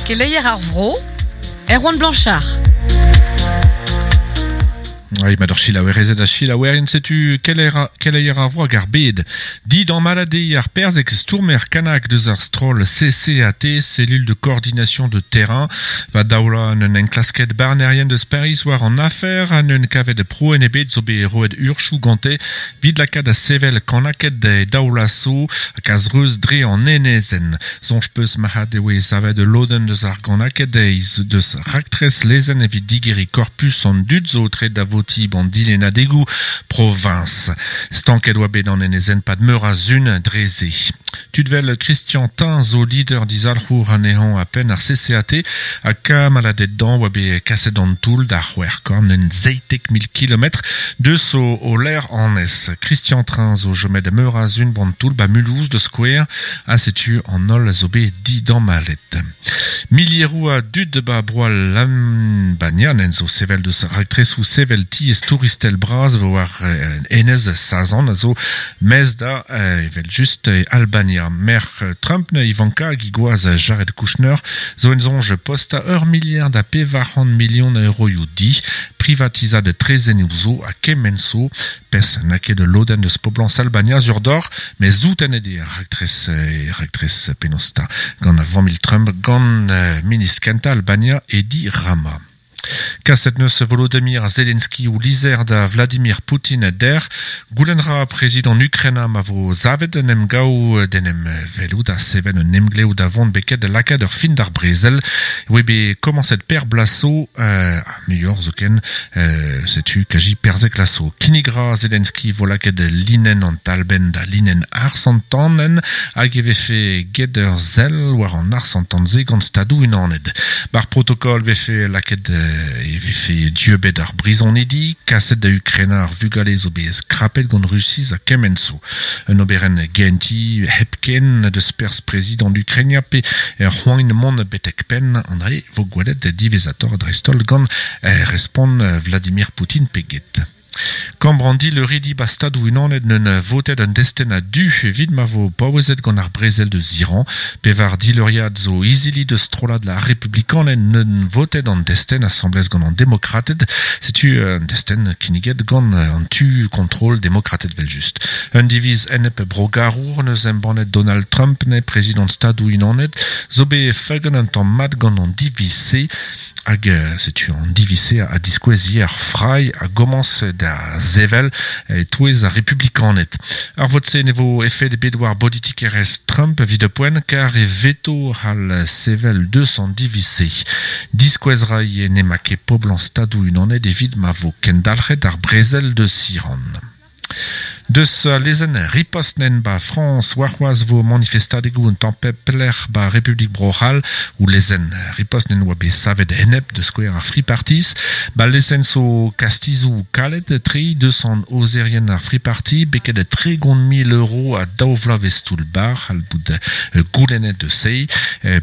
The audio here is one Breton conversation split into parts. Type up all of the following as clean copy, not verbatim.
Keleier ar vro, Erwan Blanchard. Ai, ma d'ur chilaouerezed ha chilaouerien setu keleier ar vro hag ar bed. Dit an malade ar perzhek stourmer kanak deus ar stroll CCAT, cellule de coordination de terrain, va daoula un enklasket barnerien deus Paris war an afer an un kavet proen ebet zo bet roet urchoù gante vid lakaat da sevel kanaked e daoulaso hag a-zreuz dre an enezenn. Soñj 'peus marc'had e oe savet ul lodenn deus ar ganaked deus raktres lezenn evit digeriñ korpus an dud zo aotreet da votiñ b'an dilennadegoù proviñs. Stanket oa bet an enezenn 'pad meur a sun dre se. Tud 'vel Christian Tin zo lider dizalc'hour anezhañ ha penn ar CCAT ha kamaladed dañ oa bet kaset d'an toull da c'hwec'hkorn un 17 000 kilometr deus o lec'h annez. Christian Train zo chomet meur a sun b'an toull 'ba Mulhouse da skouer ha setu an holl a zo bet didamallet. Milieroù a dud 'ba bro Albania zo sevel deus raktresoù sevel tiez touristel bras war enez Sazan a zo maez da evel-just Albania. Merc'h Trump Ivanka hag he gwaz Jared Kushner zo en soñj postañ ur miliard ha 400 milion a euroioù di, privatizad trezennoù zo ha kement zo. Pezh n'a ket ul lodenn eus poblañs Albania sur d'or, met soutenet eo ar raktres raktres penaos 'ta gant familh Trump gant ministr kentañ Albania Edi Rama. Kaset 'neus Volodymyr Zelensky o lizher da Vladimir Poutin dec'h. Goulenn 'ra prezidant Ukraina ma vo savet un emgav d'en em welout ha sevel un emglev da vont beket da lakaat ur fin d'ar brezel. E oe bet komañset per bloaz zo, muioc'h zoken, setu kaji perzek laso. Kinnig 'ra Zelensky vo lakaet linenn an talbenn da linenn arsantanenn hag e vefe get ur sell war an arsantan-se gant Stadoù-Unanet. Bar protokol vefe lakaet e vefe dieubet ar brizonidi, kaset da Ukraina ar vugale zo bet skrapet gant Rusiz ha kement zo. Un oberenn gentiñ hepken deus perzh prezidant Ukraina pe c'hoant mont betek penn an dre vo gwelet diwezhatoc'h dreist-holl gant respont Vladimir Poutine pe get. Kambr an dileuridi 'ba Stadoù-Unanet 'neunt votet un destenn a-du evit ma vo paouezet gant ar brezel deus Iran. Pevar dileuriad zo izili deus strollad ar Republikaned 'neunt votet an destenn asambles gant an Demokrated. Setu un destenn kinniget gant an tu kontrol demokrated 'vel-just. Un diviz enep brogarour 'neus embannet Donald Trump 'ne prezidant Stadoù-Unanet zo bet feuget un tamm mat gant an diviz-se. Hag setu an diviz-se a diskouez ivez ar frailh a gomañs da sevel e-touez ar republikaned. Ar vot-se ne vo efed ebet war bolitikerezh Trump evit poent kar e veto c'hall sevel deus an diviz-se. Diskouez 'ra ivez n'emañ ket poblañs Stadoù-Unanet evit ma vo kendalc'het ar brezel deus Iran. Deus al lezenn ripost nen 'ba Frañs warc'hoazh 'vo manifestadegoù un tamm pep lec'h 'ba Republik Bro-C'hall. O lezenn ripost nen oa bet savet enep da skouer ar Free-Parties. 'Ba lezenn zo kastizoù kalet tre deus an aozerien ar Free-Party beket 30 000 euro ha daou vloavezh toull-bac'h c'hall bout goulennet deus se.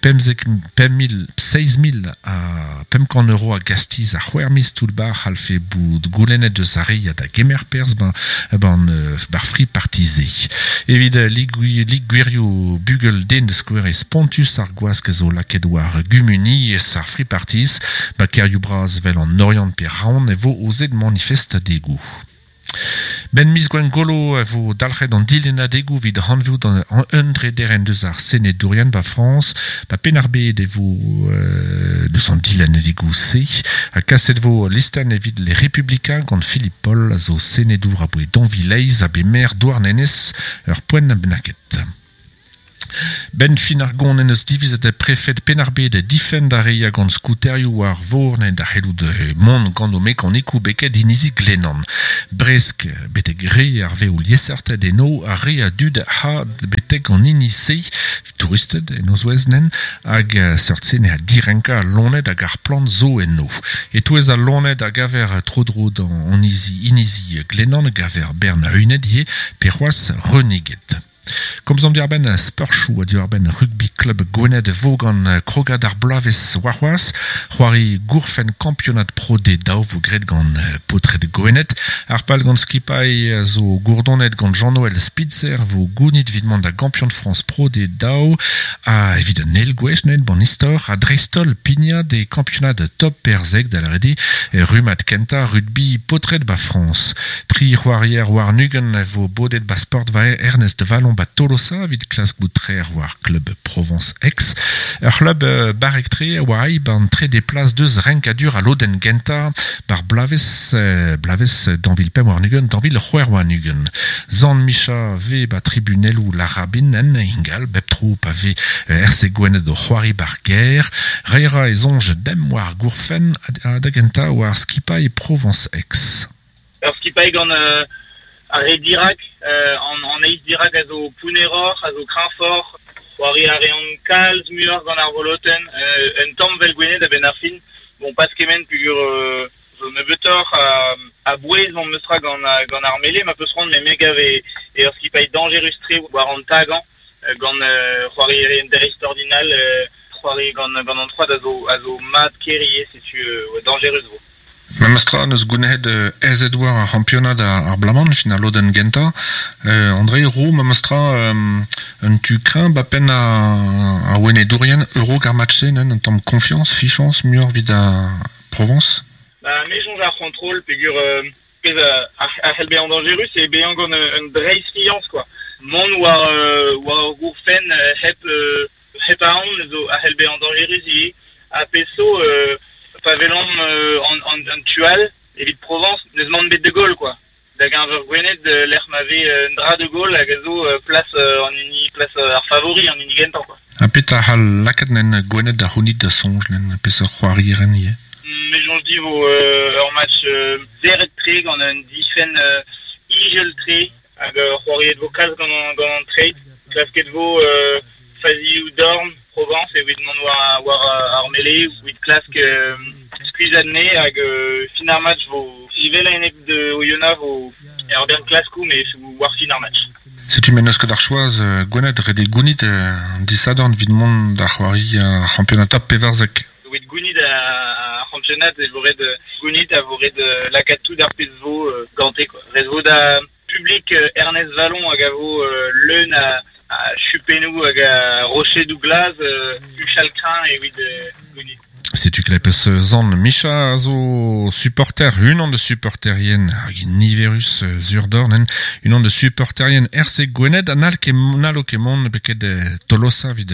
Pemzek 5 000 7 000 ha 500 euro a gastiz ha c'hwec'h miz toull-bac'h c'hallfe bout goulennet deus ar re ya da gemer perzh 'ban bar Free Party-se. Evit lig gwirioù bugel den da skouer eo spontus ar gwask zo lakaet war gumuniezh ar Free Parties. 'Ba kêrioù bras 'vel an Oriant pe Raon e vo aozet manifestadegoù. 'Benn miz Gwengolo e vo dalc'het an dilennadegoù evit hanveout un drederenn deus ar senedourien 'ba Frañs. 'Ba Penn-ar-Bed e vo deus an dilennadegoù-se. Ha kaset 'vo listenn evit Les Républicains gant Philippe Paul a zo senedour aboe Donville-Leizh ha bet maer Douarnenez ur poent bennaket. 'Benn fin ar gont en deus divizet prefed Penn-ar-Bed difenn d'ar re ya gant skouterioù war vor da c'hellout mont gant o mekanikoù beket inizi Glenan. Bresk betek re ar vev liesseurted eno ar re a dud ha betek an hini-se, touristed en o zouez nen, hag seurt-se ne direnkañ al loened hag ar plant zo eno. E-touez al loened a gaver tro-dro d'an inizi Glenan a gaver bern a-uned ivez pe c'hoazh reuniged. Komzomp diwar-benn sporchoù ha diwar-benn rugby club Gwened vo gant krogad ar bloavezh warc'hoazh. C'hoari gourfenn kampionad Pro D2 vo graet gant paotred Gwened. Ar pal gant skipailh zo gourdonet gant Jean-Noël Spitzer vo gounit evit mont da gampion Frañs Pro D2 ha evit an eil gwech neuze bon istor ha dreist-holl pignat e kampionad top perzek da lâret eo rummad kentañ rugby paotred ba Frañs. Tri c'hoarier warn-ugent a vo bodet ba sportva Ernest Wallon ba Tolosa evit klask bout trec'h war klub Provence Aix. Ur c'hlub barrek-tre a oa aet ban trede plas deus renkadur al lodenn gentañ bar bloavezh bloavezh 2025 2026. Zan Micha 'vez ba tribunelloù Larabin en ingal bep tro pa vez RC Gwened o c'hoari bar gêr. Reiñ a ra e soñj demp war gourfenn ha da gentañ war skipailh Provence Aix. Ur skipailh gant ar re dirak, an eizh dirak a zo pounneroc'h, a zo kreñvoc'h. C'hoari a reont kalz muioc'h gant ar volotenn, un tamm 'vel Gwened a-benn ar fin. Bon, pas kement peogwir zo nebeutoc'h a-bouez memes tra gant gant ar mele ma peus c'hoant, met me gav eo ur skipailh dañjerus-tre war an tagañ gant c'hoarierien dreistordinal, c'hoari gant gant an troad a zo a zo mat-ker ivez, setu dañjerus 'vo. Memes tra 'neus gounezet aezet war ar c'hampionad ar bloaz-mañ, fin al lodenn gentañ. André Roux, memes tra un tu kreñv ba penn ar Wenedourien a-raok ar match-se, un tamm konfiañs, fichañs muioc'h evit ar Provañs? Ba me soñj ar c'hontrol peogwir pezh a c'hell bezañ dañjerus eo bezañ gant un dreistfiañs quoi. Mont war war ur gourfenn hep hep aon zo a c'hell bezañ dañjerus ivez. Ha pezh zo, pa welomp an tu all, evit Provañs, n'eus mann bet de Gaulle quoi. Da geñver Gwened, lec'h ma vez un dra de Gaulle hag a zo plas an hini plas ar favori, an hini gentañ quoi. Ha petra a c'hall lakaat nen Gwened da c'hounit da soñj nen peseurt c'hoarieren ivez? Me soñj dit vo ur match serret-tre gant un difenn ijel-tre hag c'hoariet vo kalz gant gant an treid. Klasket vo fazioù dorn Provañs evit mont war war ar mele, evit klask skuizhañ anezhe hag fin ar match vo evel a-enep de Oyonnax vo ur bern klaskoù met war fin ar match. Setu m'en deus ket ar choaz Gwened ret eo gounit disadorn evit mont da c'hoari ar c'hampionad top 14. Evit gounit ar c'hampionad e vo ret gounit a vo ret lakaat tout ar pezh vo gante quoi. Ret vo da Publik Ernest Wallon hag a vo leun a chupennoù hag a rochedoù glas huchal kreñv evit gounit. Setu klepez Zan Micha a zo supporter, unan deus supporterien hag niverus sur-dorn, en unan deus supporterien RC Gwened ha n'hall ket n'hallo ket mont beket Tolosa evit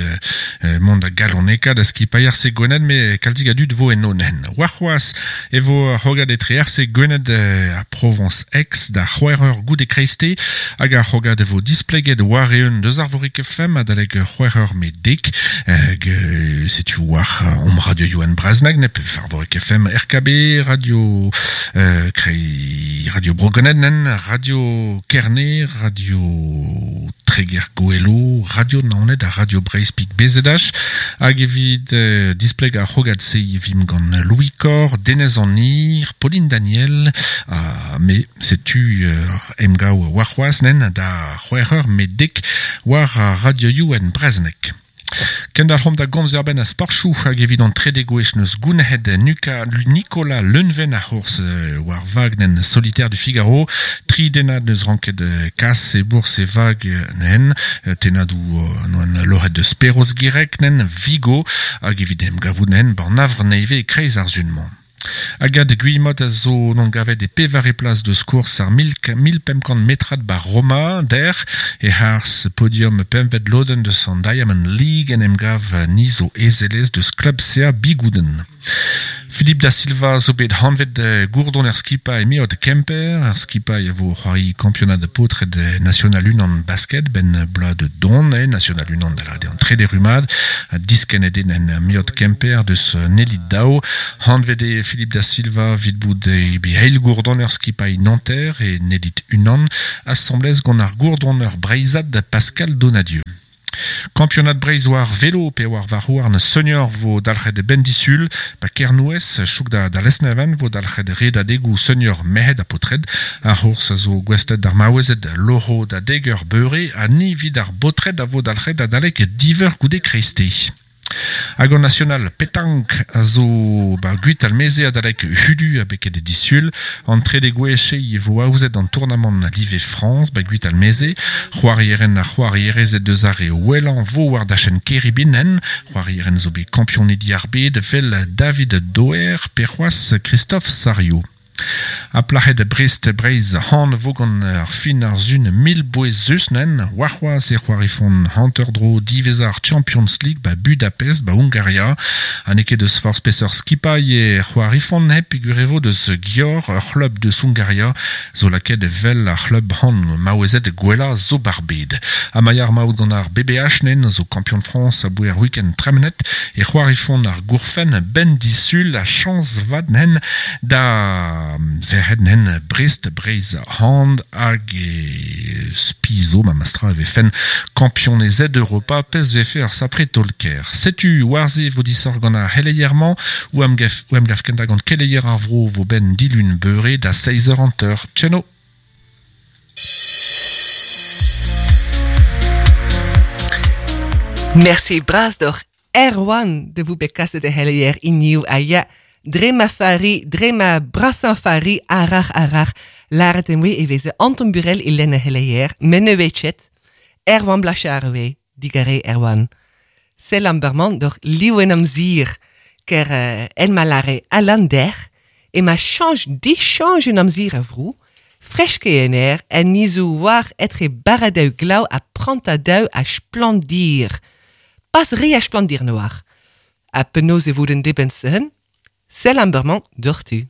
mont da galonekaat da skipailh RC Gwened met kalzik a dud vo eno nen. Warc'hoazh e vo ar c'hrogad etre RC Gwened ha Provañs Aix da c'hwec'h eur goude kreisteiz hag ar c'hrogad e vo displeget war-eeun deus Arvorig FM adalek c'hwec'h eur met dek. Hag setu war omp Radio Yoann Brasnag nep Arvorig FM RKB Radio Krei Radio Bro Gwened nen Radio Kerne Radio Treger Goelo Radio Naoned ha Radio Breizh Pik BZH hag evit displegañ ar c'hrogad-se e vimp gant Louis Cor, Denez an Hir, Pauline Daniel ha me. Setu ur emgav warc'hoazh nen da c'hwec'h eur met dek war ar radioioù en brezhoneg. Kendalc'homp da gomz er-benn a sporchoù hag evit an trede gwech n'eus gounezet Nuka Nicolas Leunven ar c'hours war vag nen Solitaire du Figaro. Tri dennad n'eus ranket kas e bourzh e vag nen tennadoù noan loc'het deus Perroz Gireg nen Vigo hag evit emgavout nen ban Havre nevez e-kreiz ar sun-mañ. Agathe Guillemot a zo n'on gavet e pevare plas deus kours ar 1500 metrad ba Roma dec'h e-harz podium pempvet lodenn deus an Diamond League en em gav ni zo ezelez deus klub CA Bigouden. Philippe da Silva zo bet hanvet gourdon er skipailh Meod Kemper. Ar skipailh a vo c'hoari kampionad paotred National unan basket ben bloaz de don e National unan da lâret eo an trede rummad. Diskennet eo en Meod Kemper deus Nelly Dao. Hanvet eo Philippe da Silva evit bout e eil gourdoner skipailh Nanterre e Nelit unan, asambles gant ar gourdoner breizhat Pascal Donadieu. Kampionad Breizh war velo pe war varc'hhouarn senior vo dalc'het ben disul, ba Kernouez, chouk da, da Lesneven vo dalc'het redadegoù senior merc'hed ha paotred. Ar c'hours a zo gouestlet d'ar maouezed loro da deg eur beure ha ni 'vit ar baotred a vo dalc'het adalek div eur goude kreisteiz. Hag an National Petank a zo ba Gwitalmeze adalek hudu ha beket disul. An trede gwech e vo aozet an tournamant live Frañs ba Gwitalmeze. C'hoarieren ha c'hoarierezed deus ar re wellañ vo war dachenn Keribinen. C'hoarieren zo bet kampionidi ar bed 'vel David Doer pe c'hoazh Christophe Sario. Ha plac'hed Brest Breizh han vo gant ar fin ar sun 1000 bouezus nen, warc'hoazh e c'hoarifont hanter-dro diwezhañ ar Champions League ba Budapest ba Hungaria. Ha n'eo ket deus forzh peseurt skipailh e c'hoarifont hep peogwir e vo deus Győr, ur c'hlub deus Hungaria, zo lakaet evel ar c'hlub han maouezed gwellañ zo bar bed. Ha ma ya ar maout gant ar BBH nen zo kampion Frañs aboe ar week-end tremenet e c'hoarifont ar gourfenn ben disul ha chañs vat nen da verc'hed nen Brest Breizh hand hag e spizo ma mastra e vefen kampionezed Europa pezh vefe ar sapre taol-kaer. Setu war-se vo disoc'h gant ar c'heleier-mañ o em gav, o em gav kentañ gant keleier ar vro vo ben dilun beure da 6h30. Tcheno! Mersi bras doc'h Erwan de vout bet kaset e c'heleier hiniv ha ya dre ma fari, dre ma brasañ fari arac'h arac'h lâret em boa e veze Anton Burel e lenn e c'heleier, met ne oe ket. Erwan Blachard oe, digarez Erwan. Sell an bremañ doc'h liv en amzer, ker en ma lâre Alan dec'h ema chañch dichañch en amzer a vro, fresk eo en aer ha ni zo war etre barradoù glav ha prantadoù a splandir. Pas re a splandir noar. Ha penaos e vo den dibenn-se? Sell an bremañ doc'htu.